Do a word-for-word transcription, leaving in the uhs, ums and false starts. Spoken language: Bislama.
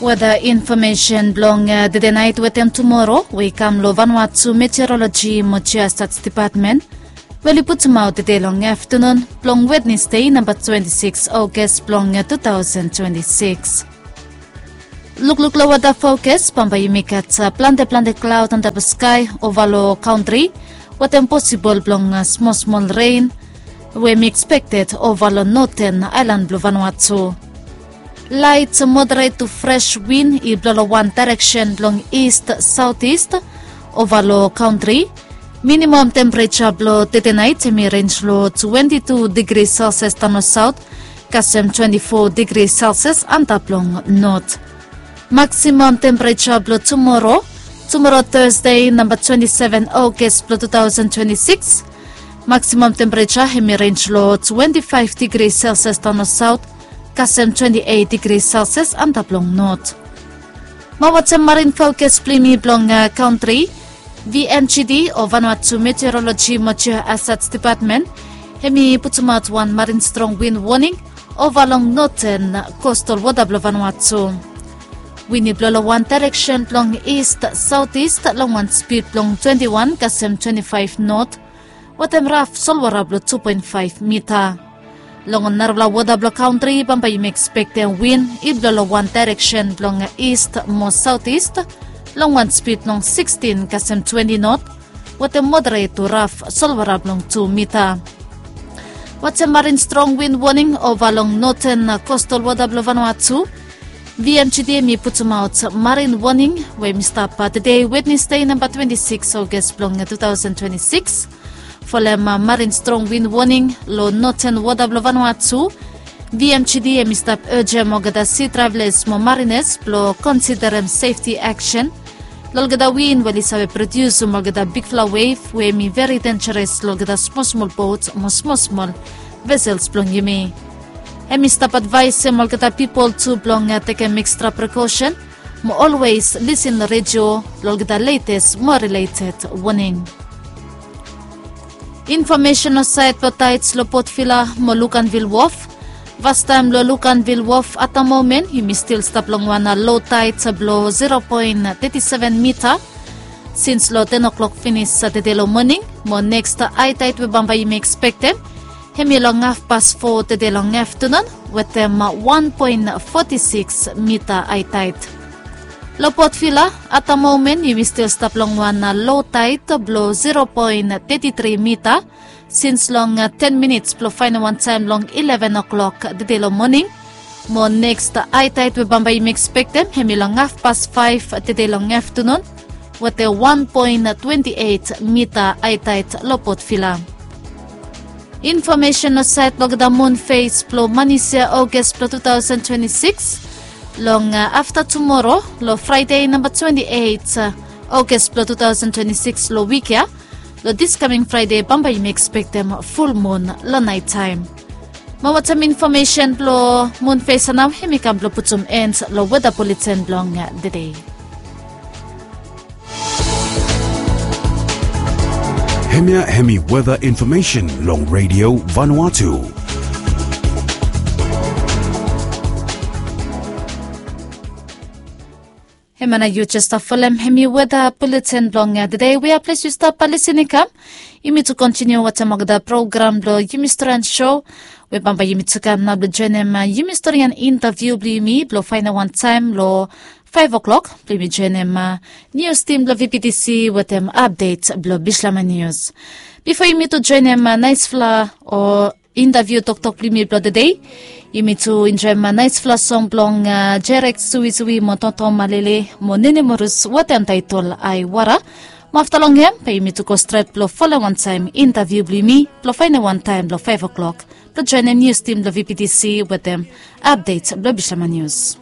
Weda infomesen blong tede nait wetem tumoro we i kam long Vanuatu Meteoroloji mo Geostats Depatmen, we oli putumaot tede long aftanun blong Wednesde namba twenti sikis August blong tu taosen twenti sikis. Lukluk long weda fokas, bambae yumi gat plante plante klaod antap long skae ova long kantri, wetem posibol blong smol smol ren we mi ekspekted ova long noten aelan blong Vanuatu. Laet moderet tu fres win i blo long wan daereksen blong ist saotis ova long kantri. Minimam tempereja blong tede nait hemi renj long twenti tu digri selsias daon long saot, kasem twenti fo digri selsias antap long not. Maksimam tempereja blong tumoro, tumoro Tasde namba twenti seven Aogas blong tu taosen twenti sikis, maksimam tempereja hemi renj long twenti faef digri selsias daon long saot, kasem twenti eit digri selsias antap long not. Mo watem marin fokas blong yumi blong kantri, V M G D o Vanuatu Meteoroloji mo Geohazard Depatmen, hemi putumaot wan marin strong win woning ova long noten kostal wota blong Vanuatu. Win i blo long wan daereksen blong ist saotis long wan spid blong twenti wan kasem twenti faef not, wetem raf solwara blong tu poen faef mita. Long narafala wota blong kantri bambae yumi ekspektem win i blo long wan daereksen blong ist mo saotis long wan spid blong sikstin kasem twenti not, wetem moderet tu raf solwara blong tu mita. Watem marin strong win woning ova long noten kostal wota blong Vanuatu. V M G D hemi putumaot marin woning we hemi stap tede Wednesde namba twenti sikis Aogas blong tu taosen twenti sikis. Folem marin strong win woning long noten wota blong Vanuatu, V M G D hemi stap ejem olgeta si travelas mo marinas blo konsiderem sefti aksen long olgeta win we oli save prodiusum olgeta bigfala wef we hemi veri denjaras long olgeta smol smol bot mo smol smol vesels blong yumi. Hemi stap advaesem olgeta pipol tu blong tekem ekstra prekosen mo olwes lisin long redio long olgeta letes mo rileted woning. Infomesen long saed blong taets long Port Vila mo Luganville Wharf. Fastaem long Luganville Wharf at the moment yumi stil stap long wan low taed blong zero poen teti seven mita sins long ten o'clock finis tede long moning, mo neks hae taed we bambae yumi ekspektem hemi long hafpas fo tede long aftanun wetem wan poen foti sikis mita hae taed. Long Port Vila at the moment yumi stil stap long wan low taed blong zero poen teti tri mita sins long ten minits blong faenem wan taem long ileven o'clock tede long moning, mo neks hae taed we bambae yumi ekspektem hemi long hafpas faef tede long aftanun wetem wan poen twenti eit mita hae taed long Port Vila. Infomesen long saed blong olgeta mun fes blong Manisia Aogas blong tu taosen twenti sikis. Long afta tumoro long Fraede namba twenti eit Aogas blong tu taosen twenti sikis long wik ya, long dis kaming Fraede bambae yumi ekspektem fulmun long naet taem. Mo watem infomesen blong mun fes ya nao hemi kam blong putum en long weta buleten blong tede. Hemia hemi weta infomesen long redio Vanuatu. Hemia nao yu jes stap folem hemi weta buleten blong tede we ya ples yu stap lisin i kam. Yumi tu kontiniu watem olgeta program blong yumi storian sho we bambae yumi tu kam nao blong joenem yumi storian intaviu blong yumi blong faenem wan taem long faef o'clock blong yumi joenem nius tim blong V P T C wetem apdet blong Bislama Nius. Bifo yumi tu joenem naesfala o intaviu toktok blong yumi blong tede, yumi tu enjoem naesfala song blong Jerek Suisui mo Toto Malele mo Nene Morus wetem taetol Aewara. Mo afta long hem bae yumi tu go stret blong folem wan taem intaviu blong yumi blong faenem wan taem blong faef o'clock blong joenem nius tim blong V P T C wetem apdet blong Bislama Nius.